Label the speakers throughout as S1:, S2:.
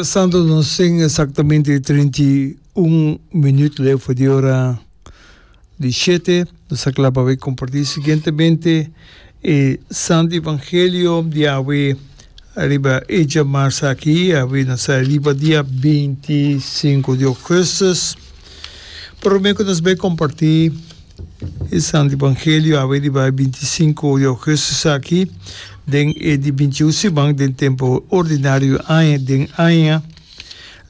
S1: Santo nos tin exactamente 31 minuut leu for di ora di shete. Nos ta kla pa bay comparti siguientemente e Santo Evangelio di awe riba e djamars aki. Awe nos ta riba dia 25 di augustus. Prome cu nos bay comparti E Santo Evangelio awe riba e 25 di augustus aki den e di 21 siman den tempo ordinario aña den aña.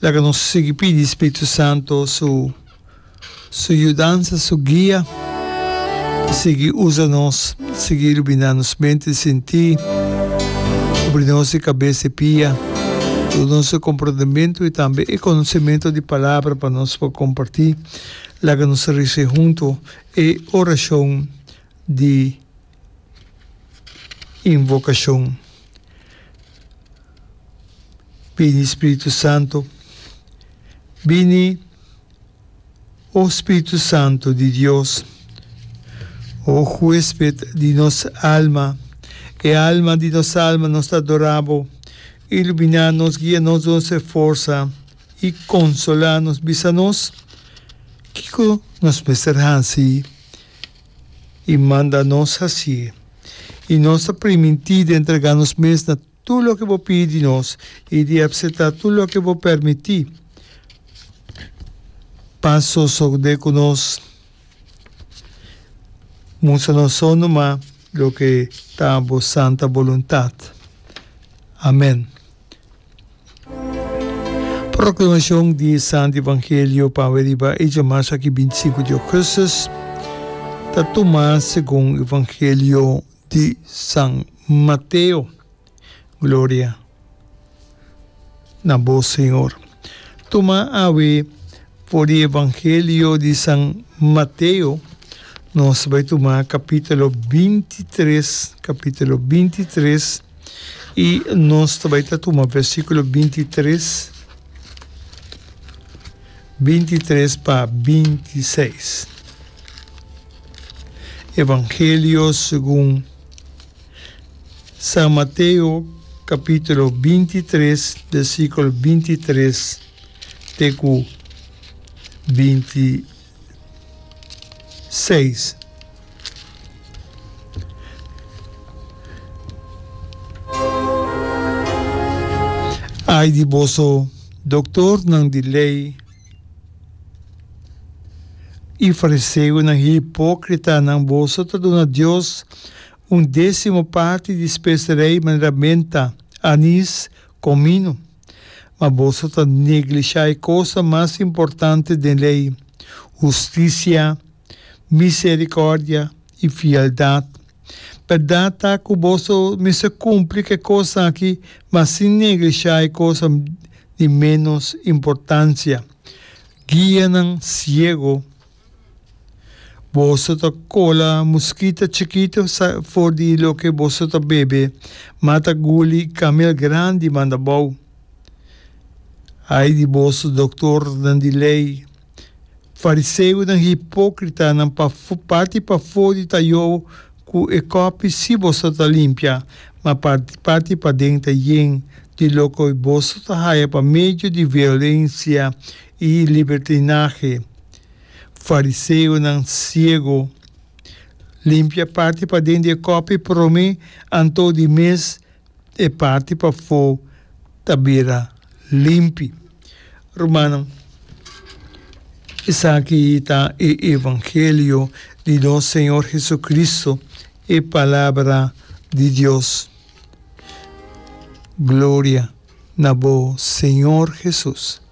S1: Laga nos sigui pidi Spiritu Santo su su yudansa, su guia, sigui usa nos, sigui ilumina nos mente i sinti, kubri nos di kabes i pia, duna nos e komprondementu i tambe e konosementu di palabra pa nos por kompartí. Laga nos resa hunto e orashon di invokashon. Bini Spiritu Santo, bini o Spiritu Santo di Dios, o huesped di nos alma, e alma di nos alma nos ta adora bo, ilumina nos, guia nos, duna nos e forsa. i konsolá nos, bisa nos kiko nos mester hasi i manda nos hasié. I nos ta primintí di entregá nos mes na tur loke bo pidi di nos i di apseptá tur loke bo permití pa sosodé ku nos. Mustra nos so numa loke ta bo santa boluntat. Amèn. Proclamacion di e Santo Evangelio pa awe riba e djamas aki 25 di augustus ta tuma segun Evangelio di San Mateo. Gloria na bo Señor. Tuma awe for di Evangelio di San Mateo nos bai tuma capitulo 23, capitulo 23. I nos ta bai ta tuma versíkulo 23, 23 pa 26. Evangelio segun San Mateo kapítulo 23, versíkulo 23 te ku 26. Ai di boso, doktornan di lei i fariseonan hipókritanan, boso ta duna Dios un désimo parti di speserei manera menta, anis, komino, ma boso ta neglishá e kosnan mas importante den lei, hustisia, misericordia i fieldad. Berdad ta cu boso mester cumpli cu e cosnan aki, ma sin neglisha e cosnan di menos importancia. Guianan ciego! Boso ta cola muskita chikito for di loke boso ta bebe, ma ta guli camel grandi manda bou. Ai di boso, doctornan di ley! Fariseonan hipókritanan, parti pafó di tayó ku e kòpi sí boso ta limpia, ma parti paden ta yen di loke boso ta haya pa medio di violensia i libertinahe. Fariseonan siego, limpia parti paden di e kòpi promé, anto di mes E parti pafó ta bira limpi. Rumannan, esaki ta e evangelio di nos Señor Jesucristo, e Palabra di Dios. Gloria na bo, Señor Jesus.